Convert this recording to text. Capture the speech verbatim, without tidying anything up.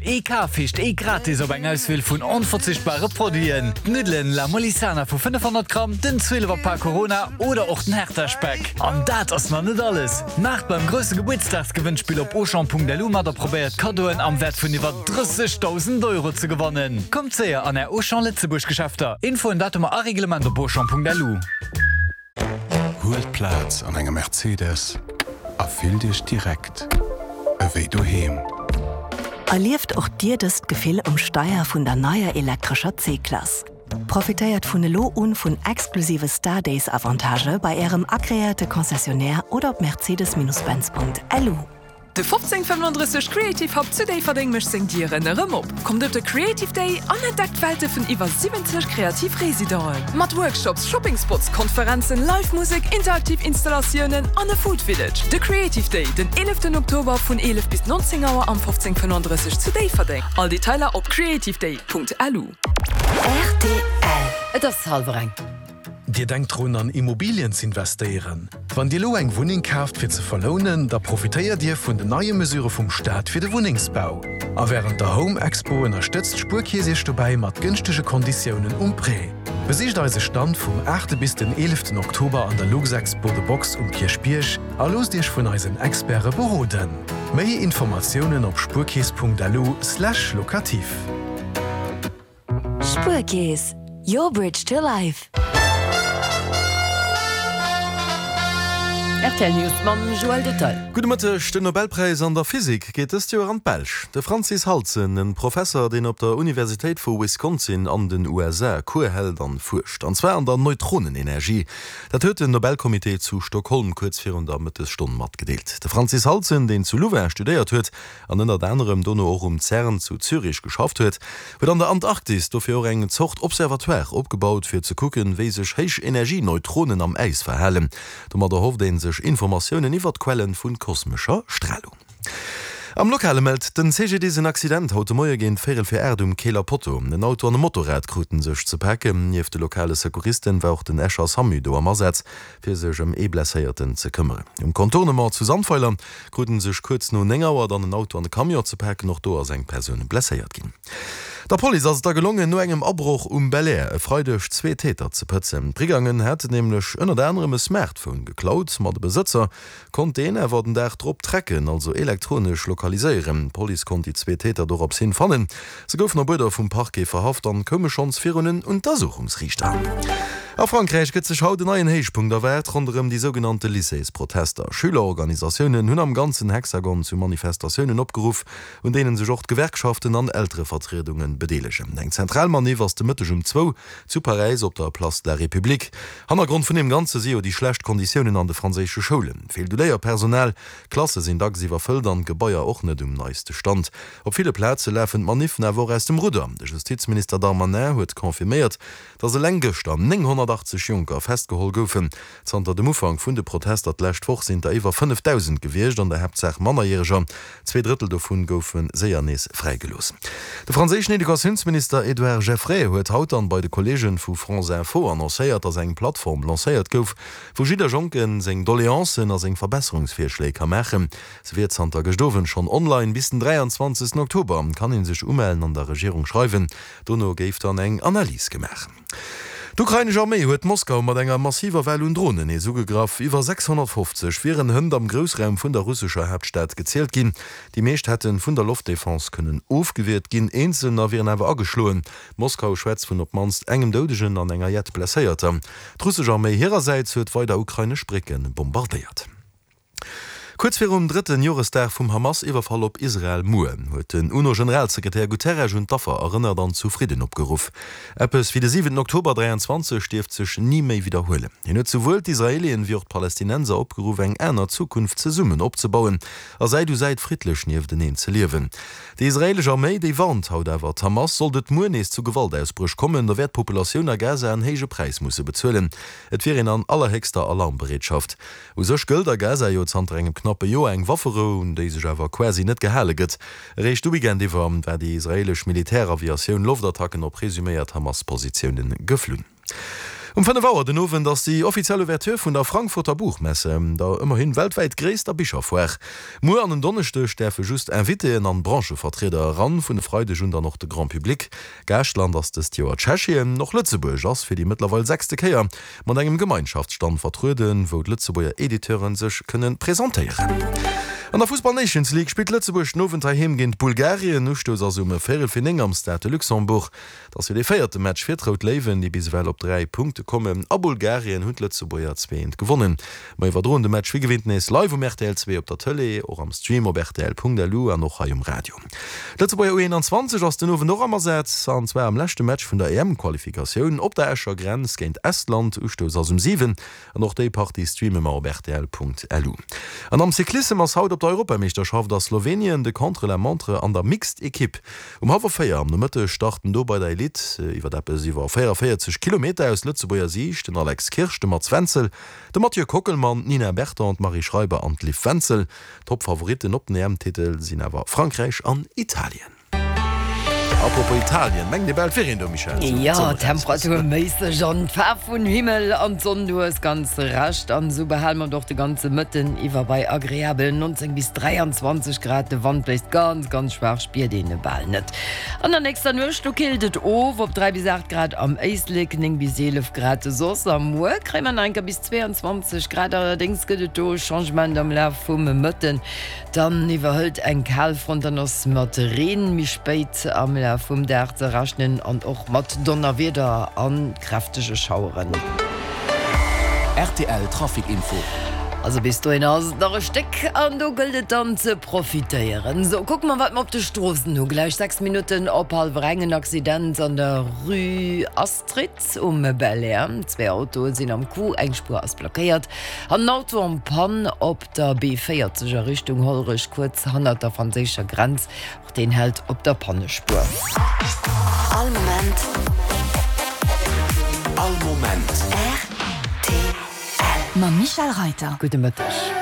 Ee Kaf heescht ee gratis op eng Auswiel vun onverzichtbare Produiten. D'Nuddelen La Molisana vu fënnefhonnert Gramm, den zwielefer Pak Corona oder och den Hertha-Speck. An dat ass nach net alles! Maacht beim grousse Gebuertsdagsgewënnspill op Auchan.lu mat a probéiert Kaddoen am Wäert vun iwwer drëssegdausend Euro ze gewannen. Kommt séier an är Auchan Lëtzebuerg Geschäfter. Infoen, Datumer a Reglement op Auchan.lu. Huelt Plaz an engem Mercedes a fillt Iech direkt ewéi doheem. Erlieft och Dir dëst Gefill um Steier vun der neier elektrescher C-Klass. Profitéiert vun elo un vun exklusive Star Days Avantagë bei Ärem agreéierte Concessionnaire oder op mercedes-benz.lu. De fofzéng fënnenodrësseg Creative Hub zu Déifferdeng mécht seng Dieren erëm op. Kommt op de Creative Day an entdeckt Welte vun iwwer siwwenzeg kreativ Residenten. Mat Workshops, Shopping Spots, Konferenzen, Live-Musek, interaktiv Installatiounen an e Food Village. De Creative Day, den eeleften Oktober vun eelef bis nonzéng Auer am fofzéng fënnenodrësseg zu Déifferdeng. All Detailer op creativeday.lu. Rtl. Et ass hallwer eng. Dir denkt drun an Immobilien z'investéieren? Wann Dir elo eng Wunneng kaaft fir ze verlounen, da profitéiert Dir vun den neie Mesure vum Staat fir de Wunnengsbau. A wärend der Home Expo ënnerstëtzt d'Spuerkeess Iech dobäi mat gënschtege Konditiounen um Prêt. Besicht eise Stand vum aachte bis den eeleften Oktober an der Luxexpo The Box um Kierchbierg a loosst Iech vun eisen Experte beroden. Méi Informatiounen op spuerkeess.lu slash locatif. Spuerkeess, your bridge to life. Rtl News mam Joël Detail. Gudde Mëtteg, Den Nobelpräis an der Physik geet dëst Joer an d'Belsch. De Francis Halzen, en Professer, deen op der Universitéit vu Wisconsin an den U S A Cours hält an fuerscht, an zwar an der Neutronenenergie. Dat huet den Nobelcomité zu Stockholm kuerz virun der Mëttesstonn matgedeelt. De Francis Halzen, deen zu Louvain studéiert huet an ënnert anerem dono och um CERN zu Zürich geschafft huet, huet an der Antarktis dofir och eng Zort Observatoire opgebaut, fir ze kucken, wéi sech Héichenergie-Neutronen am Äis verhalen. Domat erhofft ee sech Informatiounen iwwer d'Quellen vu kosmescher Stralung. Am Lokale mellt den C G D S en Accident haut de Moie géint véierel vir aacht um Keeler Potto. En Auto an e Motorrad kruten sech ze paken. Nieft de lokale Secouristen war och den Escher SAMU do am Asaz, fir sech ëm ee Blesséierten ze këmmeren. Um Contournement zu Sandweiler kruten sech kuerz no néng Auer dann en Auto an e Camion ze paken. Och do ass eng Persoun blesséiert ginn. Der Police ass et da gelongen, no engem Abroch um Belair e Freideg zwee Täter ze pëtzen. D'Brigangen hätten nämlech ënnert anerem e Smartphone geklaut, ma de Besëtzer konnt deen awer den Dag drop tracken, also elektronesch lokaliséieren. D'Police konnt déi zwee Täter dorops hin fannen. Se goufen op Uerder vum Parquet verhaft an koume schonns virun en Untersuchungsriichter. A Frankräich gëtt sech haut en neien Héichpunkt erwaart ronderëm déi sougenannte Lycéesprotester. Schülerorganisatiounen hunn am ganzen Hexagon zu Manifestatiounen opgeruff, un deenen sech och d'Gewerkschaften an Elterevertriedunge bedeelegen. Eng zentral Manif ass de Mëtteg um zwou zu Paräis op der Place de la République. Hannergrond vun deem Ganze si jo déi schlecht Konditiounen an de franséische Schoulen. Feelt u Léierpersonal, Klasse sinn dacks iwwerfëllt an d'Gebaier och net um neiste Stand. Op ville Plaze lafen d'Maniffen awer och aus dem Rudder. De Justizminister Darmanin huet confirméiert, datt eleng gëschter nénghonnertachtzeg Jonker festgeholl goufen. Zanter dem Ufank vun de Protester d'lescht Woch sinn der iwwer fënnefdausend gewiescht, an der Haaptsaach Mannerjäreger. Zwee Drëttel dovun goufe séier nees fräigelooss. De franséischen Educatiounsminister Édouard Geffray huet haut dann bei de Kolleegen vu France Info annoncéiert, datt eng Plattform lancéiert gouf, wou jidder Jonke seng Doleancen a seng Verbesserungsvirschléi ka maachen. Se wier zanter gëscht Owend schonn online. Bis den dräianzwanzegsten Oktober kann ee sech umellen an der Regierung schreiwen. Dono géif dann eng Analys gemaach. D'ukrainesch Arméi huet Moskau mat enger massiver Well un Dronen nees ugegraff. Iwwer sechshonnertfofzeg wieren hënt am Groussraum vun der russescher Haaptstad gezielt ginn. Déi meescht hätten vun der Loftdefense kënnen ofgewiert ginn, eenzelner wieren awer ageschloen. Moskau schwätzt vun op d'mannst engem Doudegen an enger Jett Blesséierter. D'russesch Arméi hirersäits huet weider ukrainesch Brécke bombardéiert. Kuerz virum drëtten Joresdag vum Hamas-Iwwerfall op Israel muer huet den UNO-Generalsekretär Guterres un d'Affer erënnert an zu Fridden opgeruff. Eppes wéi de siwenten Oktober dräianzwanzeg dierft sech ni méi widderhuelen. Hien huet souwuel d'Israelien wéi och d'Palästinenser opgeruff, eng aner Zukunft zesummen opzebauen a Säit u Säit friddlech niefteneen ze liewen. Déi israelesch Arméi, déi warnt haut awer d'Hamas, sollt et muer nees zu Gewaltausbréch kommen, da wäert d'Populatioun a Gaza en héije Präis musse bezuelen. Et wier een an allerhéchster Alarmbereetschaft. U sech gëllt a Gaza jo zanter engem knappe Joer eng Wafferou, un déi sech awer quasi net gehale gëtt. Eréischt de Weekend iwwer war déi israelesch Militäraviatioun Loftattacken op presuméiert Hamas-Positiounen geflunn. Um fënnef Auer den Owend ass déi offiziell Ouverture vun der Frankfurter Buchmesse, der ëmmerhin weltwäit gréisster Bicherfoire. Muer an en Donneschdeg däerfe just Invitéen an Branchevertrieder eran, vun e Freideg un dann och de Grand Public. Gaaschtland ass dëst Joer Tschechien. Och Lëtzebuerg ass fir déi mëttlerweil sechste Kéier mat engem Gemeinschaftsstand vertrueden, wou d'Lëtzebuerger Editeuren sech kënne presentéieren. An der Fussball Nations League spillt Lëtzebuerg den Owend heiheem géint Bulgarien. Ustouss ass um véierel fir néng am Stade de Luxembourg. Et ass jo dee véierte Match fir d'Rout Léiwen, déi bis ewell op dräi Punkte kommen. A Bulgarien hunn d'Lëtzebuerger zwee eent gewonnen. Mer iwwerdroen de Match wéi gewinnt nees live um rtl zwee op der Tëlee, och am Stream op rtl.lu an och hei um Radio. D'Lëtzebuerger U einundzwanzeg ass den Owend och am Asaz, an zwar am leschte Match vun der E M-Qualifikatioun op der Escher Grenz géint Estland. Ustouss ass um siwen an och déi Partie streame mer op rtl.lu. An am Cyclissem ass haut op der Europameeschterschaft a Slowenien de Contre-la-montre an der Mixed Equipe. Um hallwer véier am Nomëtteg starten do bei der Elite iwwer eppes iwwer véieranvéierzeg Kilometer aus Lëtzebuerger Siicht den Alex Kirsch, de Mats Wenzel, de Mathieu Kockelmann, d'Nina Berton, d'Marie Schreiber an d'Liv Wenzel. Top-Favoritten op den E M-Titel sinn awer Frankräich an Italien. Apropos Italien, mengt ee bal et wier een do, Michèle? Jo, temperaturméisseg an d'Faarf vun Himmel an d'Sonn, du hues ganz Recht. An esou behale mer et och de ganze Mëtten iwwer bei agreabelen neunzéng bis dräianzwanzeg Grad. De Wand bléist ganz, ganz schwaach, spiert een e bal net. An der nächster Nuecht, do killt et of op dräi bis aacht Grad am Éislek, néng bis eelef Grad soss. A muer kréie mer nach eng Kéier bis zweeanzwanzeg Grad, allerdéngs gëtt et do e Changement am Laf vum Mëtten. Dann iwwerhëlt eng Kalfront, dann ass mat Reen méi spéit am Laf vum Dag ze rechnen an och mat Donnerwieder a kräftege Schaueren. R T L Trafic Info. Also bis dohin ass et nach e Stéck an do gëllt et dann ze profitéieren. Sou, kucke mer wat mer op de Stroossen hu. Gläich sechs Minutten op hallwer eng, en Accident an der Rue Astrid um Belair. Zwee Autoe sinn am Coup, eng Spuer ass blockéiert an en Auto en panne op der B véierzeg a Richtung Hollerech, kuerz hannert der franséischer Grenz. Och deen hält op der Pannespuer. All Moment. All Moment. R T L. Mam Michèle Reyter. Gudde Mëtteg.